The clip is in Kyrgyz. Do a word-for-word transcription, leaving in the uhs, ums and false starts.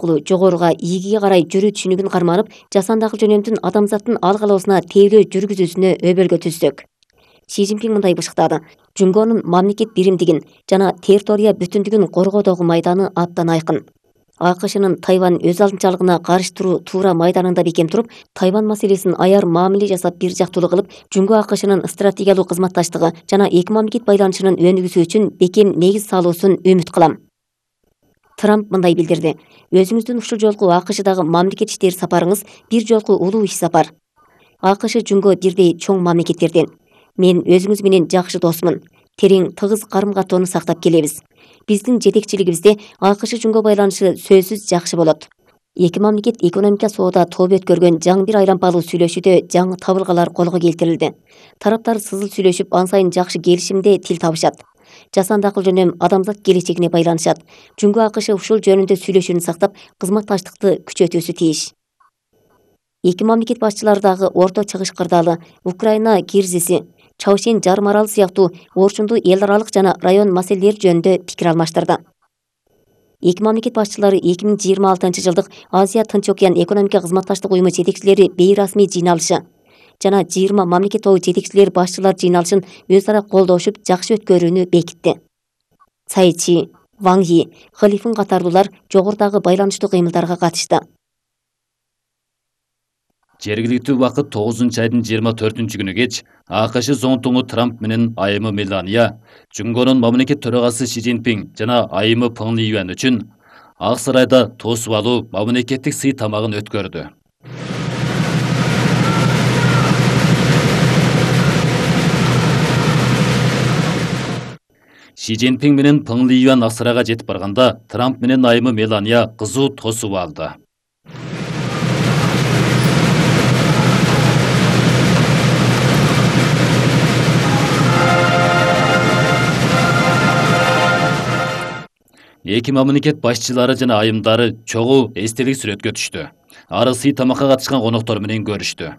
укуктуулугу жогоруга ийгиге карай жүрүү түшүнүгүн карманып, жасандагы жөнөмдүн адамзаттын ал калоосуна тейлөө жүргүзүүсүнө өбөлгө түздүк. Си Цзиньпин мындай бышыктады: Жунгонун мамлекет биримдигин жана территория бүтүндүгүн коргоодогу майданы абдан айкын. АКШнын Тайвань өз алдынчалыгына каршы туруу туура майданында бекем туруп, Тайвань маселесин аяр мамиле жасап бир жактуулуу кылып, Жунго АКШнын стратегиялык кызматташтыгы жана эки мамлекет байланышынын өнүгүүсү үчүн бекем негиз салуусун үмүт кылам. Трамп мындай билдирди: Өзүңүздүн ушул жолку АКШдагы мамлекет иштери сапарыңыз бир жолку улуу иш сапар. АКШ Жунго бирдей чоң мамлекеттерден. Мен өзүңүз менен жакшы досмун. Терең тыгыз карым-катоону сактап келебиз. Биздин жетекчилигибизде АКШ Жунго байланышы сөзсүз жакшы болот. Эки мамлекет экономика соода тобу өткөргөн жаңы бир айлампалуу сүйлөшүүдө жаңы табылгалар колго келтирилди. Тараптар сызыл сүйлөшүп, ан сайын жакшы келишимде тил табышат. Жасанды акыл жөнөм адамзат келечегине байланышат. Жунго АКШ ушул жөнүндө сүйлөшүүнү сактап, кызматташтыкты күчөтүүсү тийиш. Эки мамлекет башчылары дагы Орто Чыгыш кырдаалы, Украина кризиси, Чаушен жарым аралы сыяктуу орчундуу эл аралык жана район маселелери жөнүндө пикир алмаштырды. Эки мамлекет башчылары эки миң жыйырма алтынчы жылдык Азия Тынч океан экономика кызматташтык уюму жетекчилери бейрасмий жыйналышы жана жыйырма мамлекет тобу жетекчилери башчылар жыйналышын өз ара колдошуп жакшы өткөрүүнү бекитти. Цай Чи, Ван Yi, Халифин катарлуулар жогорудагы байланыштуу кыймылдарга катышты. Жергиликтүү убакыт тогузунчу айдын жыйырма төртүнчү күнү кеч АКШ зоонтуңу Трамп менен айымы Мелания, Жунгонун мамлекет төрагасы Си Цзиньпин жана айымы Пeng Liyuan үчүн Ак Сарайда тосуп алуу мамлекеттик сый тамагын өткөрдү. Си Цзиньпин менен Пeng Liyuan Ак Сарайга жетип барганда, Трамп менен айымы Мелания кызуу тосуп алды. Эки мамлекет башчылары жана айымдары чогуу эстелик сүрөткө түштү. Ары сый тамакка катышкан коноктор менен көрүштү.